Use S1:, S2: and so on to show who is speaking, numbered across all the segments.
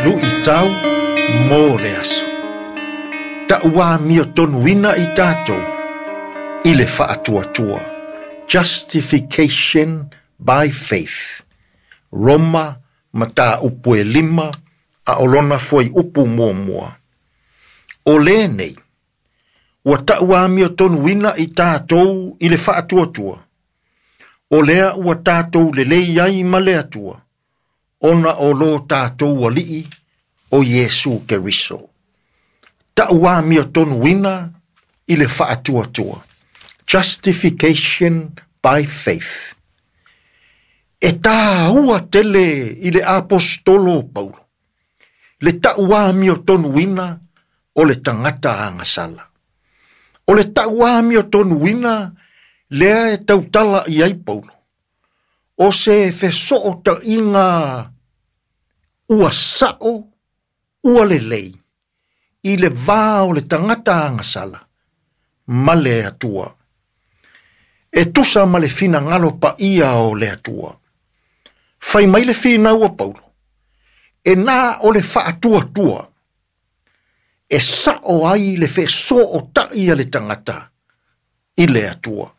S1: Luʻitau mo le aso. Taʻuamiotonuina i tatou i le faatuatua. Justification by faith. Roma mataupu e 5 a o lona fuaiupu 1. O lenei, ua taʻuamiotonuina i tatou i le faatuatua. O lea ua tatou lelei ai ma le Atua, ona o lo tatou Alii o Iesu Keriso. Taʻuamiotonuina i le faatuatua. Justification by faith. E tāua tele i le aposetolo o Paulo, le taʻuamiotonuina o le tagata agasala. O le taʻuamiotonuina lea e tautala i ai Paulo, o se fesoʻotaʻiga ua saʻo ua lelei i le va o le tagata agasala ma le Atua. E tusa ma le finagalo paia o le Atua. Fai mai le finau a Paulo, e na o le faatuatua, e saʻo ai le fesoʻotaʻi a le tagata i le Atua.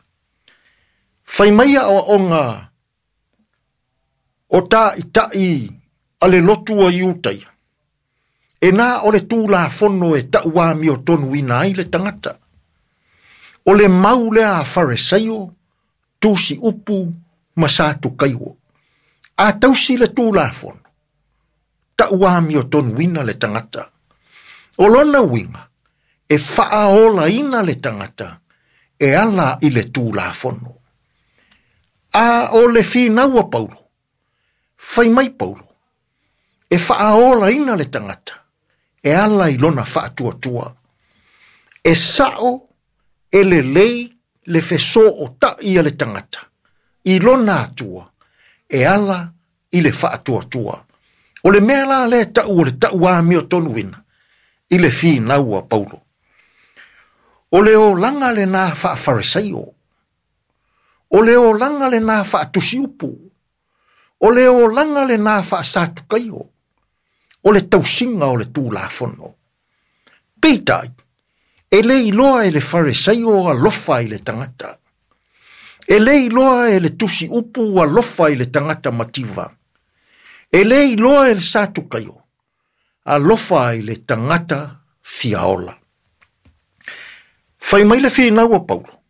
S1: Fai mai aʻoaʻoga o taʻitaʻi a le lotu a Iutaia, e na o le Tulafono e taʻuamiotonuina ai le tagata. O le mau lea a Faresaio, tusi upu ma Satukaio. A tausi le Tulafono, taʻuamiotonuina le tagata. O lona uiga, e faaolaina le tagata e ala i le Tulafono. A o le finau a Paulo, fai mai Paulo, e faaolaina le tagata e ala i lona faatuatua. E saʻo e lelei le fesoʻotaʻi a le tagata i lona Atua e ala i le faatuatua. O le mea la lea taʻu o le taʻuamiotonuina i le finau a Paulo. O le olaga lenā faafaresaio. O le olaga lenā faatusiupu. O le olaga lenā faasatukaio. O le tausiga o le Tulafono. Peitai, e le iloa e le Faresaio alofa i le tagata. E le iloa e le tusi upu alofa i le tagata mativa. E le iloa e le Satukaio alofa i le tagata fiaola. Fai mai le finau a Paulo,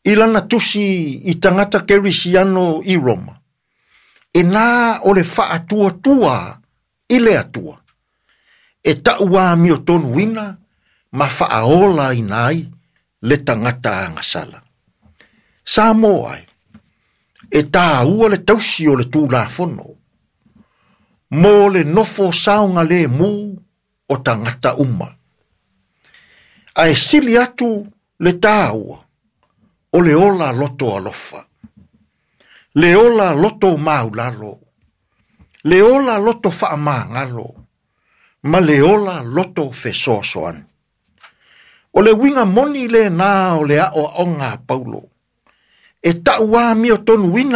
S1: i lana tusi i tagata kerisiano i Roma, e na o le faatuatua i le Atua, e taʻuamiotonuina ma faaolaina ai le tagata agasala. Samoa ai, e tāua le tausi o le Tulafono, mo le nofo saogalemu o tagata uma. Ae sili atu le tāua o le ola loto alofa, le ola loto maulalo, le ola loto faamagalo, ma le ola loto fesoasoani. O le uiga moni lenā o le aʻoaʻoga a Paulo, e taʻuamiotonuina